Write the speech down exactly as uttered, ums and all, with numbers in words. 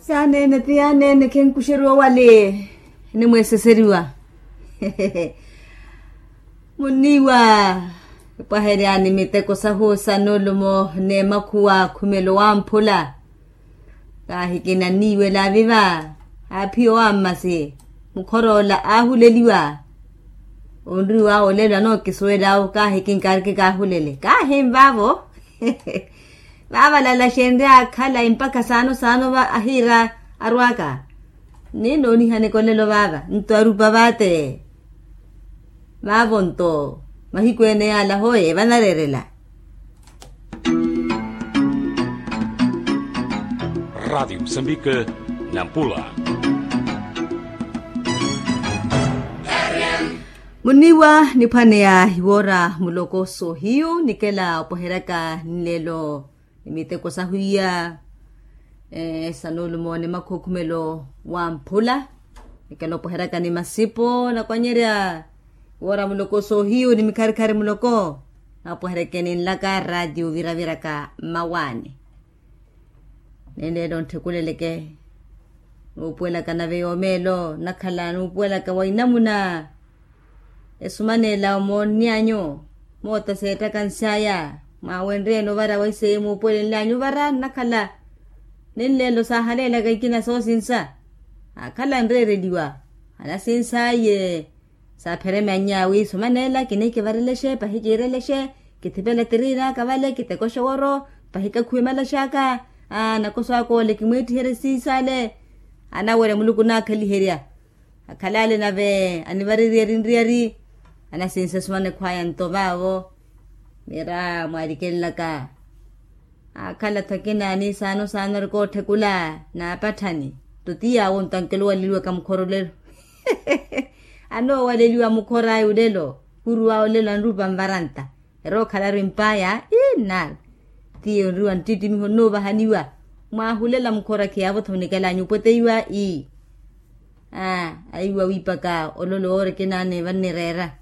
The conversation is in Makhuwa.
Yaaneene ti yaaneene khenkuxeriwa wale. Enimweeseseriwa. Muniiwa. Epwaheryani miteko sahu sa nulumo n'emakhuwa khumelo wamphula. Kaahikina niiwela viva. Aaphiya owammasi. Mukhoroola aahuleliwa. Onriwa olelo anookisuwel'awo kaahikinkaariki kaahulele kaahinvaavo. Vaavalala xenryaakhala empakha saano saano va ahiira arwaaka. Ninooniha nikolelo vaava nto arupa vaate. Vaavo nto mahiku ene yaala hoye vanareerela. Radiyo musambike. Nampula. Muniiwa niphwaneya iwoora muloko soohiyu nikela opweheryaka nlelo ni miteko sahu iya. Sa nulumo ni makhookhumelo wamphula nikela opweheryaka ni masipo nakwanyerya. Woora muloko soohiyu ni mikharikhari muloko napweheryeke ninlaka ratiyo viraviraka mmawaani. Nenleelo ntthekuleleke nuupuwelaka nave yoomeelo nakhala nuupuwelaka wa inamuna. Esumaneela omoonny'anyu moota seettaka nsy'aya. Mwaawenryeeni ovara waiseye muupuwelenly'anyu ovara nnakhala. Nenleelo saahaleelaka ikina soosinsa. Aakhala anreereliwa anasinsa aye. Saapheremya nnyaawi sumaneela kinihikivarelexe pahi kiirelexe. Kithipele tiriin'aka vale kitekoxe woro. Pahi kakhuwe malax'aka. Aa nakoso aka ole kimweettiherye siisaale. Anawerya muluku naakhaliherya. Akhalale nave anivarirye erinriyari. Anasinse sumanekhw'aya nto vaavo. Mira mwaarikelelaka. Akhala tho akina ni saano saano arikootthekula. Naapatthani tto ti yaawo nto ankeluwaleliwaka mukhora olelo. Anoowaleliwa mukhor'aya olelo. Khuruw'aya olelo anrupa nvaranta. Erookhala ari mpaaya ii nnari. Tiye onriwa nttittimiho nnuuvahaniwa. Mwaahulela mukhora khiyaavo tho munikela anyupweteiwa ii. Aa aiwa wiipaka ololo woori akina ane vannireera.